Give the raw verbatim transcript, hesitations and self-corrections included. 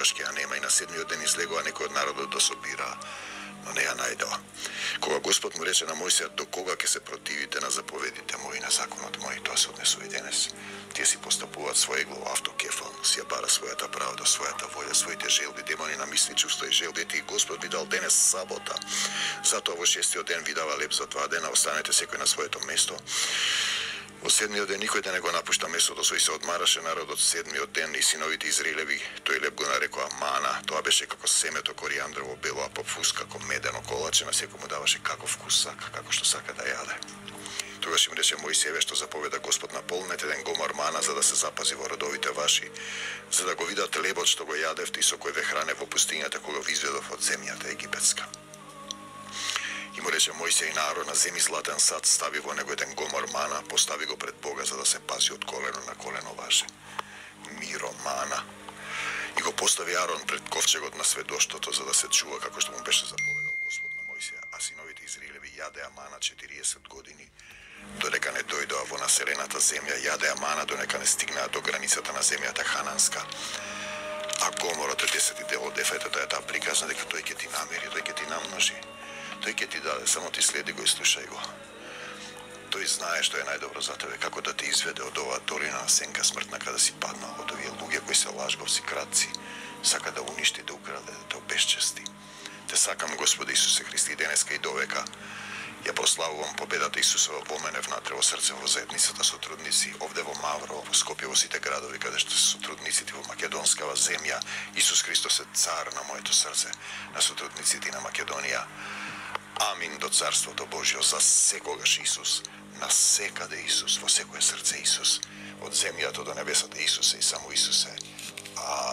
трошки ја нема и на седмиот ден излегува некој од народот да собира, но не ја најдела. Кога Господ му рече на Мојсија, до кога ќе се противите на заповедите мои, на законот мој, тоа се однесува и денес. Тие си постапуваат свој егло автокефал, си ја бара својата правда, својата волја, своите желби, демони на мисли, чувства и желби. И Господ ви дал денес сабота. Затоа во шестиот ден ви дава леп за два дена, останете секој на своето место. Во седмиот ден никој да не го напушта местото сој се одмараше народот седмиот ден и синовите Израилеви, тој леп го нарекоа мана, тоа беше како семето коријандрово бело, а попфус како медено колаче, на секој му даваше каков вкус сака, како што сака да јаде. Тогаш им рече Мојсиеве што заповеда Господ, наполнете еден гомор мана за да се запази во родовите ваши, за да го видат лебот што го јадевте и со кој ве хране во пустињата кога ви изведов од земјата египетска. И му рече Мојсија и на Арона, земи златен сад, стави во него еден гомор мана, постави го пред Бога за да се пази од колено на колено ваше. Миро мана. И го постави Арон пред ковчегот на сведоштото за да се чува како што му беше заповедал Господ на Мојсија, а синовите Израилеви јадеа мана четириесет години, додека не дојдоа во населената земја, јадеа мана додека не стигнаа до границата на земјата Хананска. А гоморот е десети дел од ефетот е таа приказна дека тој ќе ти намери, тој ќе ти намножи. Тој ќе ти даде, само ти следи го и слушај го. Тој знае што е најдобро за тебе, како да те изведе од оваа долина на сенка смртна каде си паднал, од овие луѓе кои се лажговци, кратци, сака да уништи, да украде, да те обесчести. Те сакам, Господи Исусе Христи, денеска и довека. Ја прославувам победата Исусова во мене внатре во срце, во заедницата сотрудници, овде во Мавро, во Скопје, во сите градови каде што се сотрудниците во македонскава земја. Исус Христос е цар на моето срце, на сотрудниците на Македонија. Амин до Царството Божјо, за секогаш Исус, на секаде Исус, во секое срце Исус, од земјата до небесата Исусе и само Исусе. Амин.